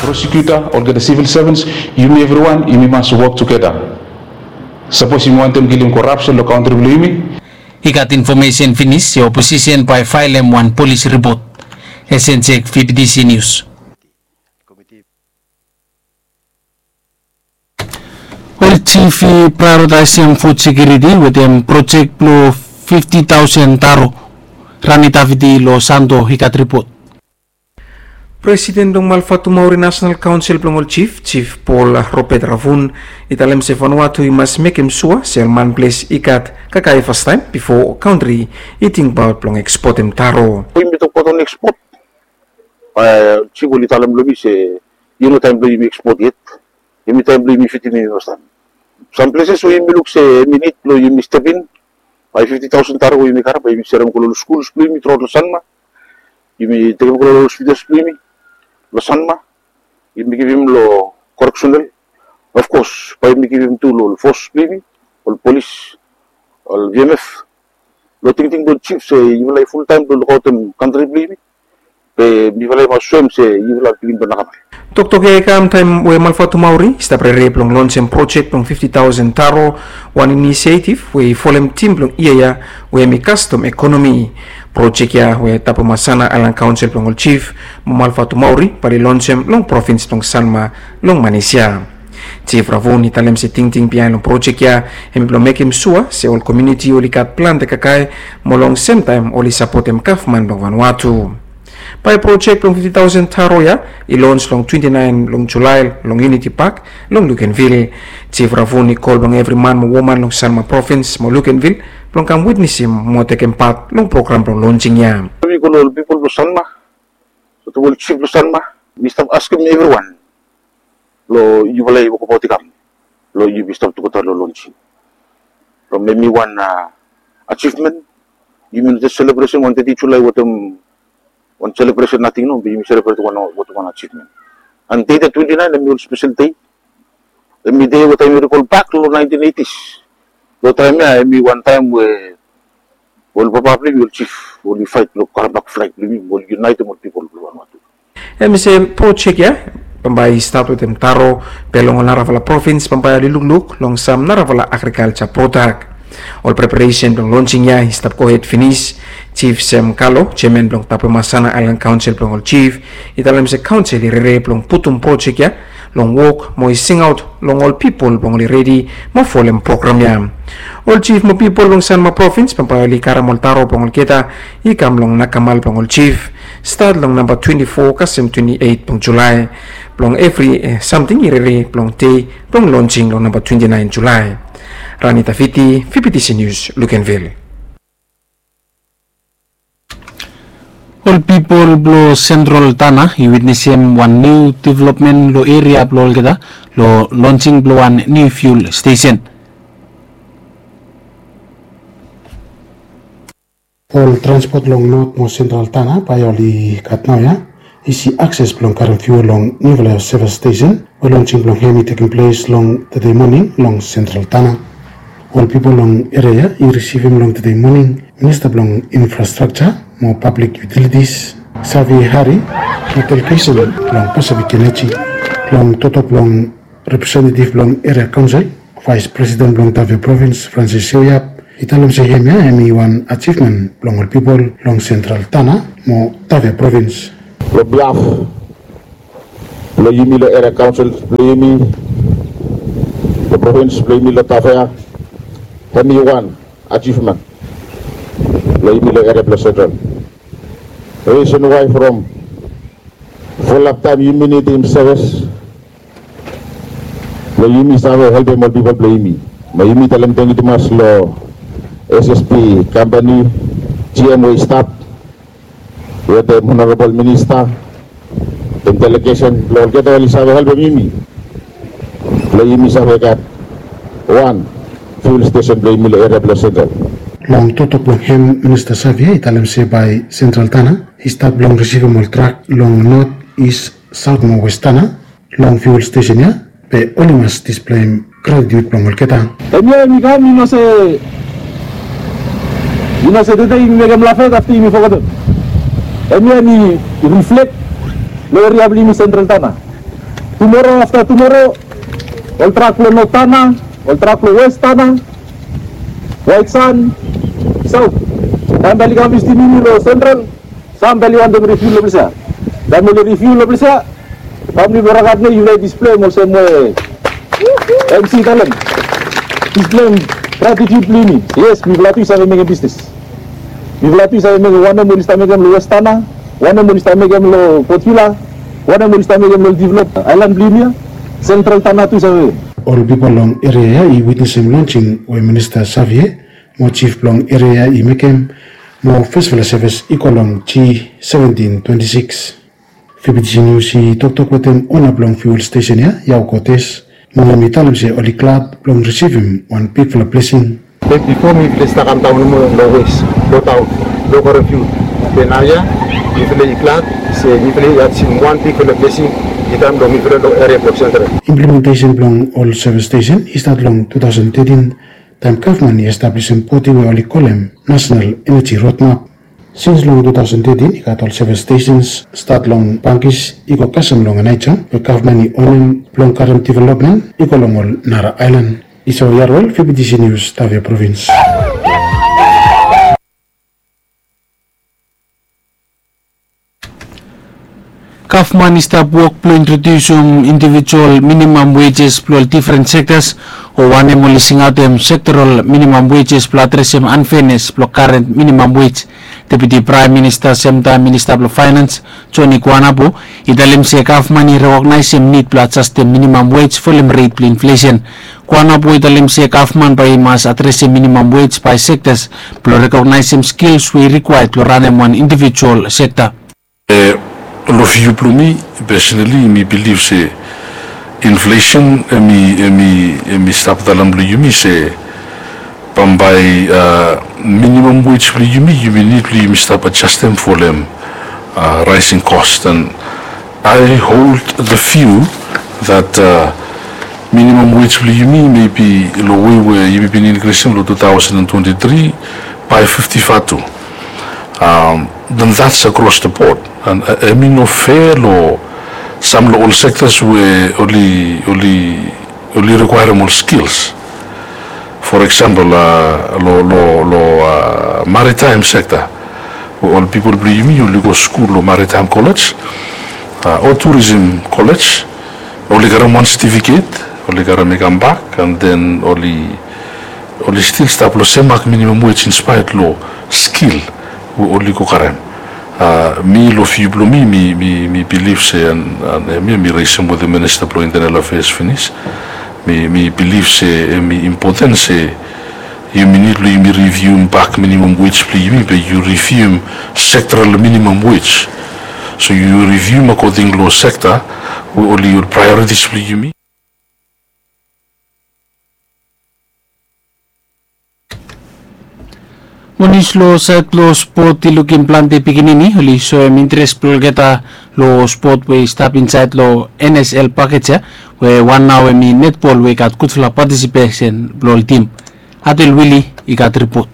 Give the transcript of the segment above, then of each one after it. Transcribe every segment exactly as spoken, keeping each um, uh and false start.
Prosecutor, olgeta civil servants, yumi evriwan yumi mas wok tugeta. Sapos yumi wantem kilim korapsen long kantri blong yumi. I gat infomesen finis se oposisen bae faelem wan polis ripot. Esen Jek, V P T C News. Ol jif i praeoritaesem fud sekiuriti wetem projek blong fifti taosen taro. Rani Taviti long Santo i gat ripot. Presiden blong Malfatu Maori Nasenal Kaonsel blong ol Jif, Jif Paul Robert Ravun, i talem se Vanuatu i mas mekem sua se ol manples i gat kakae fastaem bifo kantri i tingbaot blong ekspotem taro. Yumi tokbaot on ekspot, jif oli talem long mi se i no taem blong yumi ekspot yet. Yumi taem blong yumi fitim yumi fastaem. Sam pleses we yumi luk se hemi nid blong yumi step in, bae fifti taosen taro we yumi karem bae yumi serem go long skuls blong yumi truaot long Sanma. Yumi tekem go long hospitals blong yumi long Sanma. Yumi givim long koreksenal. Of kos bae yumi givim tu long ol fos blong yumi, ol polis, ol V M F. Long tingting blong jif se yufala i fultaem blong lukaotem kantri blong yumi. Be mifala i mas soem se yufala pikinini blong nakamal. Toktok ya i kam taem we Malfatu Maori i stap rere blong lonsem projek blong fifti taosen taro, wan inisiativ we i folem tim blong yia ya we hemi kastom ekonomi. Projek ya we Tapemasana Aelan Kaonsel blong ol Jif mo Malfatu Maori bae oli lonsem long provins blong Sanma long manis ya. Jif Ravun i talem se tingting biaen long projek ya hemi blong mekem sua se ol komuniti oli gat plante kakae mo long semtaem oli sapotem gavman blong Vanuatu. Bae projek blong fifti taosen taro ya i lons long twenti naen long Julae long Uniti Pak long Lukenvil. Jif Ravun i kol blong evri man mo woman long Sanma provins mo Lukenvil blong kam witnesem mo tekem pat long program blong lonsing ya. Mi kol ol pipol blong Sanma, sotong ol jif blong Sanma, mi stap askem evriwan blong yufala i wokabaot i kam blong yumi stap tugeta long lonsing. From hemi wan ajivmen, yumi no jes selebresen wan teti Julae wetem wan selebresen nating, no, be yumi selebret wan wetem wan ajivmen. And dei ya twenti naen hemi ol spesel dei. Hemi dei we taem yumi rikol bak long naentin eitis. Long taem ya hemi wan taem we ol papa blong yumi, ol jif, oli faet blong karem bak flag blong yumi, oli yunaetem ol pipol blong Vanuatu. Hemi se projek ya bambae i stat wetem taro, be long ol narafala provins bambae oli lukluk long sam narafala agrikalja prodak. Ol preparesen blong lonsing ya i stap gohed finis. Jif Sem Kalo, jeaman blong Tapemasana Aelan Kaonsel blong ol Jif, i talem se kaonsel i rere blong putum projek ya long wok mo i singaot long ol pipol blong oli redi mo folem program ya. Ol jif mo pipol blong Sanma provins bambae oli karem ol taro blong olgeta i kam long nakamal blong ol jif, stat long namba twenti fo kasem twenti eit blong Julae, blong evri samting i rere blong dei blong lonsing long namba twenti naen Julae. Rani Taviti, V P T C News, Lukenvil. Ol pipol blong Sentral Tana i witnesem wan niu developmen long eria blong olgeta long lonsing blong wan niu fiul stesen. Ol transpot long Not mo Sentral Tana bae oli gat naoia isi akses blong karem fiul long niufala sevis stesen we lonsing blong hem i tekem ples long tede moning long Sentral Tana. Ol pipol long eria ya i risivim long tede moning Minista blong Infrastrakja mo Pablik Yutilitis, Xavier Hari, mo delegesen blong Pacific Energy. Long toktok blong representetiv blong eria kaonsel, Vaes Presiden blong Tafea provins, Francis Seuya, i talem se hemia hemi wan ajivmen blong ol pipol long Sentral Tana mo Tafea provins. Long biaf blong yumi long eria kaonsel blong yumi, long provins blong yumi long Tafea, hemi wan ajivmen blong yumi long eria blong Sentral. Risen wae from fulap taem yumi nidim sevis blong yumi save helpem ol pipol blong yumi. Mo yumi talem tangkiu tumas long S S P kampani, G M we i stap wetem Honorabol Minista wetem delegesen blong olgeta oli save helpem yumi blong yumi save gat wan fiul stesen blong yumi long eria blong Sentral. Long toktok blong hem, Minista Xavier i talem se bae Sentral Tana i stat blong risivim ol trak long Not, Is, Saot mo Wes Tana long fiul stesen ya, be oli mas displeim gratitiud blong olgeta. Hemia hemi kam, i no se, i no se tede yumi mekem lafet afta yumi fogetem. Hemia hemi riflek long eria blong yumi Sentral Tana. Tumora afta tumora, ol trak blong North Tanna, ol trak blong West Tanna, White Sand, South. Taem bae oli kam visitim yumi long Central, sam bae oli wantem refiul long ples ia. Taem oli refiul long ples ia, famili blong Ragad Nei, yufala i displem olsem we MC i talem. Displem gratitut blong yumi. Yes, mifala tu i save mekem bisnis. Mifala tu i save mekem wanem oli stap mekem long West Tanna, wanem oli stap mekem long Port Vila, wanem oli stap mekem long develop aelan blong yumi ia, Central Tanna tu i save. Ol pipol long eria ia i witnesem lonsing we Minista Savie mo jif blong eria ia i mekem, mo fesfala sevis i go long G seventin twenti sikis. Fibitisi Nius i toktok wetem ona blong fiul stesen ia, Yao Kotes, mo hem i talem se oli glad blong risivim wan bigfala blesing. Be bifo mifala i stap kamdaon nomo long wes, long taon, long karem fiul. Be naoia mifala i glad se mifala i achievem wan bigfala blesing i kam long mifala long eria blong Central. Implementesen blong ol sevis stesen i stat long tu taosen tetin, taem gavman i establisim bodi we oli kolem National Energy Roadmap. Sins long tu taosen tetin i gat ol sevis stesens, stat long Bangis i go kasem long Aneityong, we gavman i onem blong karem developmen i go long ol nara aelan. Isao Yarwel, Fibitisi Nius, Tavia Provins. Gavman i stap wok blong introdiusim indivijual minimam wejes blong ol difren sektas, o wanem oli singaotem sektoral minimam wejes blong adresem anfenes blong karen minimam wej. Deputi Praem Minista semtaem Minista blong Faenans, Joni Kuanapu, i talem se gavman i rekognaesem nid blong adjastem minimam wej folem ret blong inflesen. Kuanapu i talem se gavman bae i mas adresem minimam wej bae sektas blong rekognaesem skils we i rikwaed blong ranem wan indivijual sekta. Long viu blong mi, pesonali mi bilif se inflesen hem i, hem i, hem i stap daon long yumi se bambae minimam wej blong yumi, yumi nid blong yumi stap adjastem folem raesing kos. And I hold the view that minimam wej blong yumi, mebi long wei we yumi bin inkrisem long tu taosen twenti tri bae fifti vatu. Then that's across the board. And hem i no fea long sam long ol sektas we oli, oli, oli rikwaerem ol skils. For example, long, long, long maritaem sekta, we ol pipol blong yumi oli go skul long maritaem kolej o turism kolej, oli karem wan setifiket, oli karem i kambak, and then oli, oli stil stap long sem mak minimam wej inspaet long skil we oli go karem. Mi long viu blong mi, mi, mi bilif se, and, and hemia mi resem wetem Minista blong Intenel Afeas finis. Mi, mi bilif se hem i impoten se yumi nid blong yumi rivium bak minimam wej blong yumi, be yu rivium sektoral minimam wej. So yu rivium akoding long sekta we oli, ol praeoritis blong yumi. Mo nius long saed blong spot i lukim plante pikinini oli soem interes blong olgeta long spot we i stap insaed long N S L pakej ia, we wan nao hem i netbol we i gat gudfala patisipesen blong ol tim. Adel Wili i gat ripot.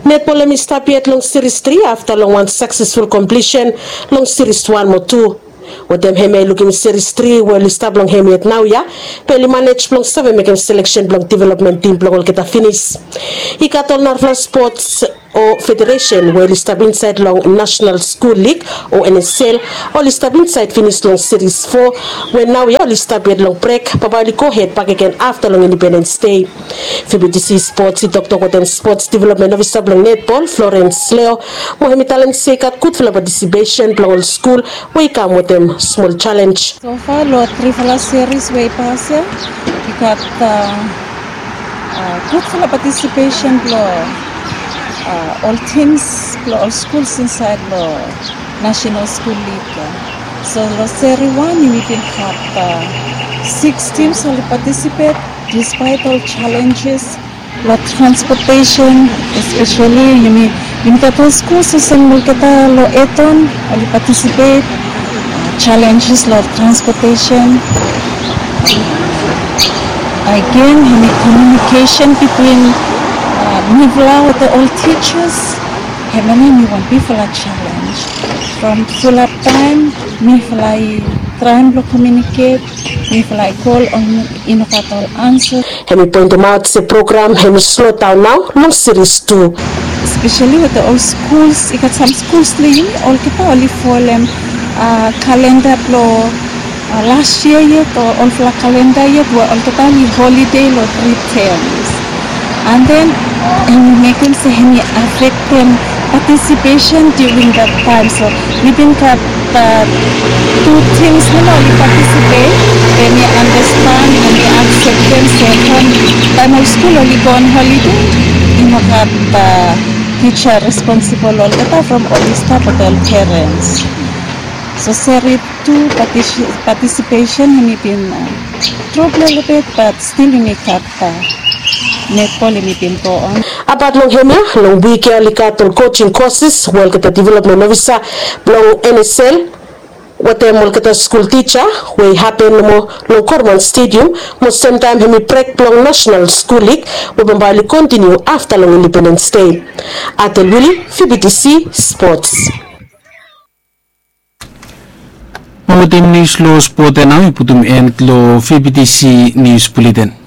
Netbol hem i stap yet long siris tri afta long wan saksesful komplisen long siris wan mo tu. Wetem hemia i lukim siris tri we oli stap long hem yet naoia, be oli manej blong save mekem seleksen blong developmen tim blong olgeta finis. I gat ol narafala spots o federesen we oli stap insaed long National School League o N S L, oli stap insaed finis long siris fo, we naoia oli stap yet long brek, bambae oli gohed bakegen afta long Independens Dei. Fibitisi Spots i toktok wetem spots developmen ofisa blong netbol, Florence Leo, mo hem i talem se i gat gudfala patisipesen blong ol skul we i kam wetem smol jalenj. So far long trifala siris we i pas ia, i gat gudfala patisipesen blong ol tims blong ol skuls insaed long National School League. So long seri wan yumi bin gat siks tims oli patisipet, dispaet ol jalenjes long transpotesen, espeseli yumi, yumi gat ol skuls olsem olgeta long Eton oli patisipet, jalenjes long transpotesen. Agen hemi komiunikesen bitwin mifala wetem ol tijas, hemia nao hemi wan bigfala jalenj. From fulap taem mifala i Traem blong komiuniket, mifala i kol, i no gat ol ansa. Hemi poentemaot se program hemi slodaon nao long Seris tu. Espeseli wetem ol skuls, i gat sam skuls long yumi olgeta oli folem kalenda blong las yia yet o olfala kalenda yet we olgeta oli holide long tri tems. And then hemi mekem se hemi afektem participation during that time. So we bin gat tu tims nomo oli participate, we mi understand, we mi akseptem se from taem ol skul oli go on holiday, i no gat tija responsibol olgeta from oli stap wetem ol perens. So Seris tu participation hemi bin drop lelebet, but stil yumi gat netbol hemi bin go on. Abat long hemia, long wik ya oli gat ol coaching courses we olgeta development officer blong N S L wetem olgeta skul tija we i hapen nomo long Korman Stadium, mo semtaem hemi brek blong National School League we bambae oli kontiniu afta long Independence Day. Atel Wili, V B T C Sports. Mo wetem nius long spot ya nao i putum en long V B T C Nius Buleten.